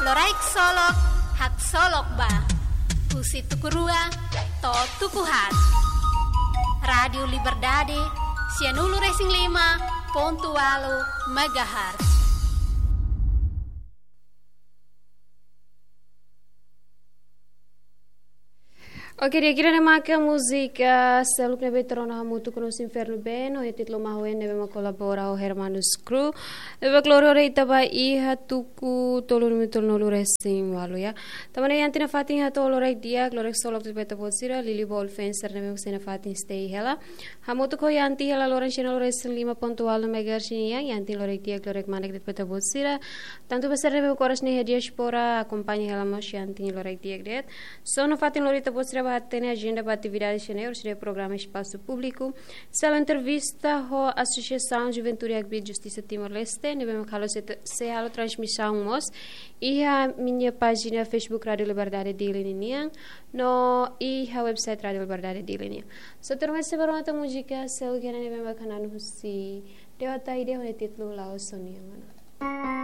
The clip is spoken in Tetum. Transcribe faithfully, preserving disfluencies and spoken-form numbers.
Loraik Solok, haksolok ba. Husi tuku rua to'o tuku haat. Rádiu Liberdade, sianulu-resin-lima pontu ualu megahertz. Oke, di'ak, ida-ne'e maka múzika seluk ne'ebé ita rona hamutuk ho Nos Inferno Band, ho títulu Mahuen, ne'ebé mak kolabora ho Hermanus Crew. Ne'ebé mak lori ita ba iha tuku tolunulu-resin-ualu, ya. Tanba ne'e iha tinan fatin hato'o loraik di'ak, loraik solok tuir ba ita-boot sira, Lili Ball Fencer ne'ebé mak sei iha fatin stay hela. Hamutuk ho Yanti hela loron sianulu-resin-lima pontu ualu megahertz nian, Yanti loraik di'ak, loraik manek de'it ba ita-boot sira. Tantu ba sira ne'ebé mak oras ne'e iha diáspora, akompaña hela mós Yanti loraik di'ak de'it. Só nafatin lori ita-boot sira ba hatene ajenda ba atividade sira-ne'e, orsida programa Espasu Públiku, sala entrevista ho Asosiasaun Juventude Akbit Justisa Timor-Leste, ne'ebé mak halo se, sei halo transmisaun mós iha ami-nia pájina Facebook Rádiu Liberdade Dili ninian, no iha website Rádiu Liberdade Dili nian. Só termina se barang atau múzika, seluk ne'ebé mak hanesan husi Dewa Taide ho títulu La'ós Ó-nia Mana.